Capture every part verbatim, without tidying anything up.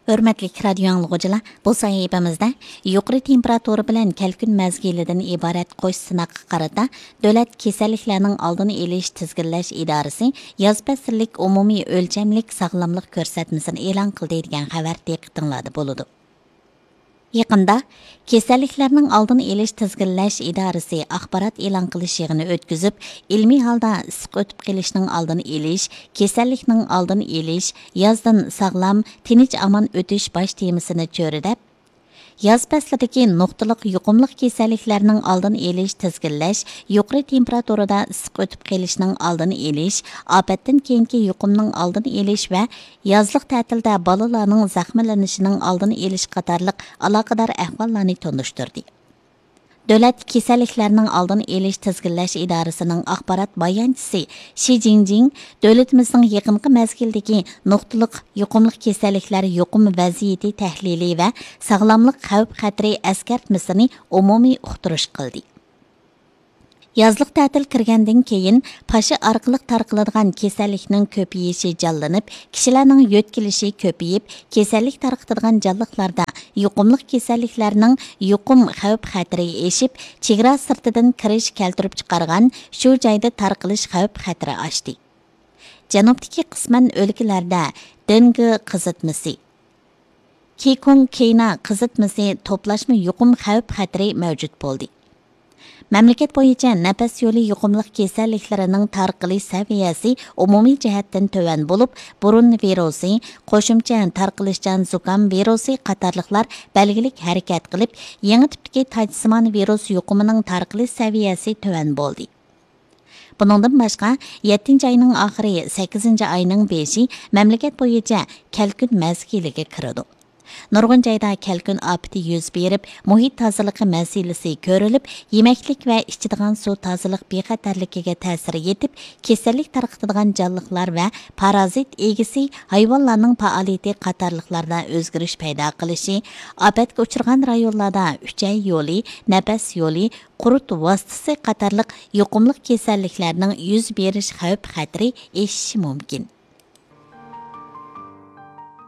ھۆرمەتلىك رادىيو ئاڭلىغۇچىلار، بۇ سەھىپىمىزدە يۇقىرى تېمپېراتۇرا بىلەن كەلكۈن مەزگىلىدىن ئىبارەت قوش سىناققا قارىتا دۆلەت كېسەللىكلەرنىڭ ئالدىنى ئېلىش تىزگىنلەش ئىدارىسى ياز پەسىللىك ئومۇمىي ئۆلچەملىك ساغلاملىق كۆرسەتمىسىنى ئېلان قىلدى دېگەن خەۋەر دىققىتىڭلاردا بولىدۇ. يېقىندا كېسەللىكلەرنىڭ ئالدىنى ئېلىش تىزگىنلەش ئىدارىسى ئاخبارات ئېلان قىلىش يىغىنى ئۆتكۈزۈپ، ئىلمىي ھالدا ئىسسىق ئۆتۈپ قېلىشنىڭ ئالدىنى ئېلىش، كېسەللىكنىڭ ئالدىنى ئېلىش، يازدىن ساغلام، تىنچ ئامان ئۆتۈش باش تېمىسىنى چۆرىدەپ، ياز پەسلىدىكى نۇقتىلىق يۇقۇملۇق كېسەللىكلەرنىڭ ئالدىنى ئېلىش، تىزگىنلەش، يۇقىرى تېمپېراتۇرىدا ئىسسىق ئۆتۈپ قېلىشنىڭ ئالدىنى ئېلىش، ئاپەتتىن كېيىنكى يۇقۇمنىڭ ئالدىنى ئېلىش ۋە يازلىق تەتىلدە بالىلارنىڭ زەخىملىنىشىنىڭ ئالدىنى ئېلىش قاتارلىق ئالاقىدار ئەھۋاللارنى تونۇشتۇردى. دۆلەت كېسەللىكلەرنىڭ ئالدىنى ئېلىش تىزگىنلەش ئىدارىسىنىڭ ئاخبارات بايانچىسى شى جىڭجىڭ دۆلىتىمىزنىڭ يېقىنقى مەزگىلدىكى نۇقتىلىق يۇقۇملۇق كېسەللىكلەر يۇقۇم ۋەزىيىتى تەھلىلى ۋە ساغلاملىق خەۋپ خەتىرى ئەسكەرتمىسىنى ئومۇمىي ئۇقتۇرۇش قىلدى. يازلىق تەتىل كىرگەندىن كېيىن، پاشا ئارقىلىق تارقىلىدىغان كېسەللىكنىڭ كۆپىيىشى جانلىنىپ، كىشىلەرنىڭ يۆتكىلىشى كۆپىيىپ، كېسەللىك تارقىتىدىغان جانلىقلاردا يۇقۇملۇق كېسەللىكلەرنىڭ يۇقۇم خەۋپ خەتىرى ئېشىپ، چېگرا سىرتىدىن كىرىش كەلتۈرۈپ چىقارغان شۇ جايدا تارقىلىش خەۋپ خەتىرى ئاشتى. جەنۇبتىكى قىسمەن ئۆلكىلەردە دېنگو قىزىتمىسى، كىكۇڭ كېينا قىزىتمىسى توپلاشما يۇقۇم خەۋپ خەتىرى مەۋجۇت بولدى. مەملىكەت بويىچە نەپەس يولى يۇقۇملۇق كېسەللىكلىرىنىڭ تارقىلىش سەۋىيەسى ئومۇمىي جەھەتتىن تۆۋەن بولۇپ، بۇرۇن ۋىرۇسى، قوشۇمچە تارقىلىشچان زۇكام ۋىرۇسى قاتارلىقلار بەلگىلىك ھەرىكەت قىلىپ، يېڭى تىپتىكى تاجسىمان ۋىرۇس يۇقۇمىنىڭ تارقىلىش سەۋىيەسى تۆۋەن بولدى. بۇنىڭدىن باشقا، يەتتىنچى ئاينىڭ ئاخىرى، سەككىزىنچى ئاينىڭ بېشى مەملىكەت بويىچە كەلكۈن مەزگىلىگە كىرىدۇ. نۇرغۇن جايدا كەلكۈن ئاپىتى يۈز بېرىپ، مۇھىت تازىلىقى مەسىلىسى كۆرۈلۈپ، يېمەكلىك ۋە ئىچىدىغان سۇ تازىلىق بىخەتەرلىكىگە تەسىر يېتىپ، كېسەللىك تارقىتىدىغان جانلىقلار ۋە پارازىت ئىگىسى ھايۋانلارنىڭ پائالىيىتى قاتارلىقلاردا ئۆزگىرىش پەيدا قىلىشى، ئاپەتكە ئۇچرىغان رايونلاردا ئۈچەي يولى، نەپەس يولى، قۇرت ۋاسىتىسى قاتارلىق يۇقۇملۇق كېسەللىكلەرنىڭ يۈز بېرىش خەۋپ خەتىرى ئېشىشى مۇمكىن.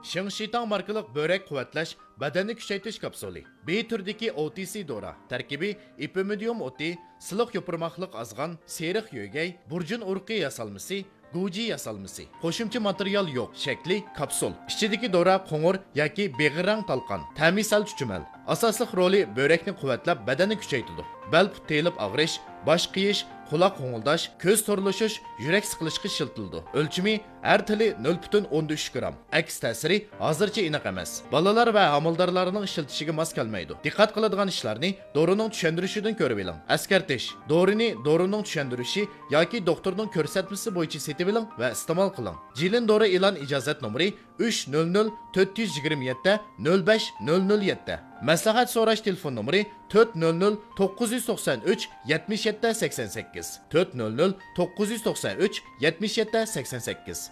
شىڭشىتاڭ ماركىلىق بۆرەك قۇۋۋەتلەش، بەدەننى كۈچەيتىش كاپسۇلى. بى تۈرىدىكى ئو تى سى دورا. تەركىبى ئېپىمىدىيۇم ئوتى، سىلىق يوپۇرماقلىق ئازغان، سېرىق يۆگەي، بۇرجۇن ئۇرۇقى ياسالمىسى، گۇجى ياسالمىسى. قوشۇمچە ماتېرىيال يوق. شەكلى كاپسۇل. ئىچىدىكى دورا قوڭۇر ياكى بېغىر رەڭ تالقان. تەمى سەل چۈچۈمەل. ئاساسلىق رولى بۆرەكنى قۇۋۋەتلەپ، بەدەننى كۈچەيتىدۇ. بەل پۇت تېيىلىپ ئاغرىش، باش قېيىش، قۇلاق غوڭۇلداش، كۆز تورلىشىش، يۈرەك سىقىلىشقا ئىشلىتىلىدۇ. ئۆلچىمى ھەر تىلى نۆل پۈتۈن ئوندىن ئۈچ گرام. ئەكس تەسىرى ھازىرچە ئېنىق ئەمەس. بالىلار ۋە ھامىلىدارلارنىڭ ئىشلىتىشىگە ماس كەلمەيدۇ. دىققەت قىلىدىغان ئىشلارنى دورىنىڭ چۈشەندۈرۈشىدىن كۆرۈۋېلىڭ. ئەسكەرتىش: دورىنى دورىنىڭ چۈشەندۈرۈشى ياكى دوختۇرنىڭ كۆرسەتمىسى بويىچە سېتىۋېلىڭ ۋە ئىستېمال قىلىڭ. جىلىن دورا ئېلان ئىجازەت نومۇرى ئۈچ نۆل نۆل تۆت يۈز يىگىرمە يەتتە نۆل بەش نۆل نۆل يەتتە. مەسلىھەت سوراش تېلېفون نومۇرى تۆت نۆل نۆل توققۇز يۈز توقسان ئۈچ يەتمىش يەتتە سەكسەن سەككىز، تۆت نۆل نۆل توققۇز يۈز توقسان ئۈچ يەتمىش يەتتە سەكسەن سەككىز.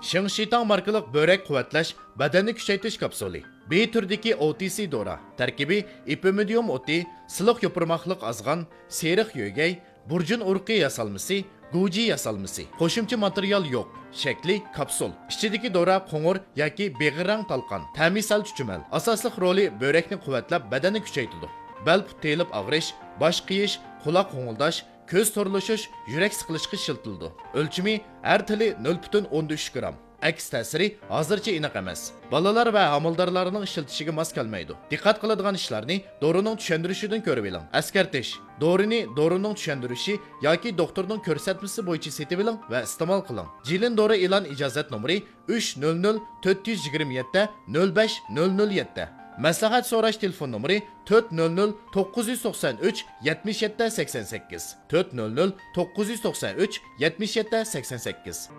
شىڭشىتاڭ ماركىلىق بۆرەك قۇۋۋەتلەش، بەدەننى كۈچەيتىش كاپسۇلى. بى تۈرىدىكى ئو تى سى دورا. تەركىبى ئېپىمىدىيۇم ئوتى، سىلىق يوپۇرماقلىق ئازغان، سېرىق يۆگەي، بۇرجۇن ئۇرۇقى ياسالمىسى، گۇجى ياسالمىسى. قوشۇمچە ماتېرىيال يوق. شەكلى كاپسۇل. ئىچىدىكى دورا قوڭۇر ياكى بېغىر رەڭ تالقان. تەمى سەل چۈچۈمەل. ئاساسلىق رولى بۆرەكنى قۇۋۋەتلەپ، بەدەننى كۈچەيتىدۇ. بەل پۇت تېيىلىپ ئاغرىش، باش قېيىش، قۇلاق غوڭۇلداش، كۆز تورلىشىش، يۈرەك سىقىلىشقا ئىشلىتىلىدۇ. ئۆلچىمى ھەر تىلى نۆل پۈتۈن ئوندىن ئۈچ گرام. ئەكس تەسىرى ھازىرچە ئېنىق ئەمەس. بالىلار ۋە ھامىلىدارلارنىڭ ئىشلىتىشىگە ماس كەلمەيدۇ. دىققەت قىلىدىغان ئىشلارنى دورىنىڭ چۈشەندۈرۈشىدىن كۆرۈۋېلىڭ. ئەسكەرتىش: دورىنى دورىنىڭ چۈشەندۈرۈشى ياكى دوختۇرنىڭ كۆرسەتمىسى بويىچە سېتىۋېلىڭ ۋە ئىستېمال قىلىڭ. جىلىن دورا ئېلان ئىجازەت نومۇرى ئۈچ نۆل نۆل تۆت يۈز يىگىرمە يەتتە نۆل بەش نۆل نۆل يەتتە. مەسلىھەت سوراش تېلېفون نومۇرى تۆت نۆل نۆل توققۇز يۈز توقسان ئۈچ يەتمىش يەتتە سەكسەن سەككىز، تۆت نۆل نۆل توققۇز يۈز توقسان ئۈچ يەتمىش يەتتە سەكسەن سەككىز.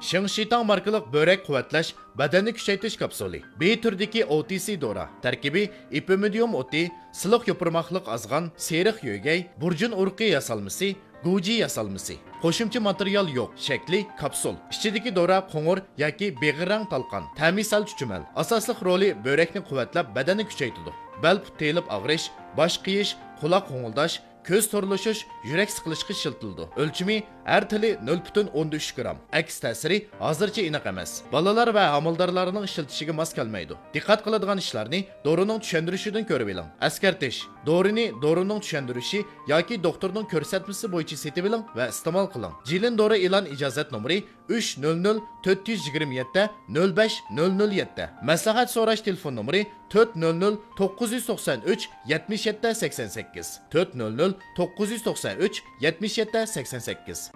شىڭشىتاڭ ماركىلىق بۆرەك قۇۋۋەتلەش، بەدەننى كۈچەيتىش كاپسۇلى. بى تۈرىدىكى ئو تى سى دورا. تەركىبى ئېپىمىدىيۇم ئوتى، سىلىق يوپۇرماقلىق ئازغان، سېرىق يۆگەي، بۇرجۇن ئۇرۇقى ياسالمىسى، گۇجى ياسالمىسى. قوشۇمچە ماتېرىيال يوق. شەكلى كاپسۇل. ئىچىدىكى دورا قوڭۇر ياكى بېغىر رەڭ تالقان. تەمى سەل چۈچۈمەل. ئاساسلىق رولى بۆرەكنى قۇۋۋەتلەپ، بەدەننى كۈچەيتىدۇ. بەل پۇت تېيىلىپ ئاغرىش، باش قېيىش، قۇلاق غوڭۇلداش، كۆز تورلىشىش، يۈرەك سىقىلىشقا ئىشلىتىلىدۇ. ئۆلچىمى ھەر تىلى نۆل پۈتۈن ئوندىن ئۈچ گرام. ئەكس تەسىرى ھازىرچە ئېنىق ئەمەس. بالىلار ۋە ھامىلىدارلارنىڭ ئىشلىتىشىگە ماس كەلمەيدۇ. دىققەت قىلىدىغان ئىشلارنى دورىنىڭ چۈشەندۈرۈشىدىن كۆرۈۋېلىڭ. ئەسكەرتىش: دورىنى دورىنىڭ چۈشەندۈرۈشى ياكى دوختۇرنىڭ كۆرسەتمىسى بويىچە سېتىۋېلىڭ ۋە ئىستېمال قىلىڭ. جىلىن دورا ئېلان ئىجازەت نومۇرى ئۈچ نۆل نۆل تۆت يۈز يىگىرمە يەتتە نۆل بەش نۆل نۆل يەتتە. مەسلىھەت سوراش تېلېفون نومۇرى تۆت نۆل نۆل توققۇز يۈز توقسان ئۈچ يەتمىش يەتتە سەكسەن سەككىز، تۆت نۆل نۆل توققۇز يۈز توقسان ئۈچ يەتمىش يەتتە سەكسەن سەككىز.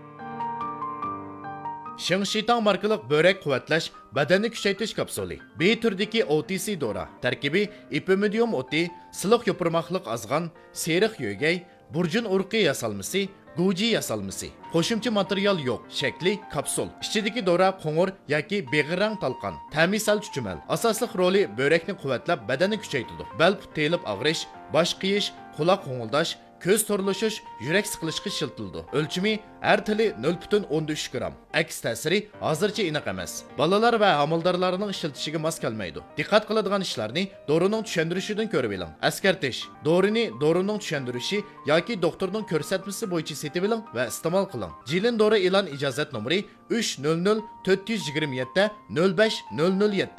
شىڭشىتاڭ ماركىلىق بۆرەك قۇۋۋەتلەش، بەدەننى كۈچەيتىش كاپسۇلى. بى تۈرىدىكى ئو تى سى دورا. تەركىبى: ئېپىمىدىيۇم ئوتى، سىلىق يوپۇرماقلىق ئازغان، سېرىق يۆگەي، بۇرجۇن ئۇرۇقى ياسالمىسى، گۇجى ياسالمىسى. قوشۇمچە ماتېرىيال يوق. شەكلى: كاپسۇل. ئىچىدىكى دورا قوڭۇر ياكى بېغىر رەڭ تالقان. تەمى سەل چۈچۈمەل. ئاساسلىق رولى: بۆرەكنى قۇۋۋەتلەپ، بەدەننى كۈچەيتىدۇ. بەل پۇت تېيىلىپ ئاغرىش، باش قېيىش، قۇلاق غوڭۇلداش، كۆز تورلىشىش، يۈرەك سىقىلىشقا ئىشلىتىلىدۇ. ئۆلچىمى: ھەر تىلى نۆل پۈتۈن ئوندىن ئۈچ گرام. ئەكس تەسىرى ھازىرچە ئېنىق ئەمەس. بالىلار ۋە ھامىلىدارلارنىڭ ئىشلىتىشىگە ماس كەلمەيدۇ. دىققەت قىلىدىغان ئىشلارنى دورىنىڭ چۈشەندۈرۈشىدىن كۆرۈۋېلىڭ. ئەسكەرتىش: دورىنى دورىنىڭ چۈشەندۈرۈشى ياكى دوختۇرنىڭ كۆرسەتمىسى بويىچە سېتىۋېلىڭ ۋە ئىستېمال قىلىڭ. جىلىن دورا ئېلان ئىجازەت نومۇرى ئۈچ نۆل نۆل تۆت يۈز يىگىرمە يەتتە نۆل بەش نۆل نۆل يەتتە.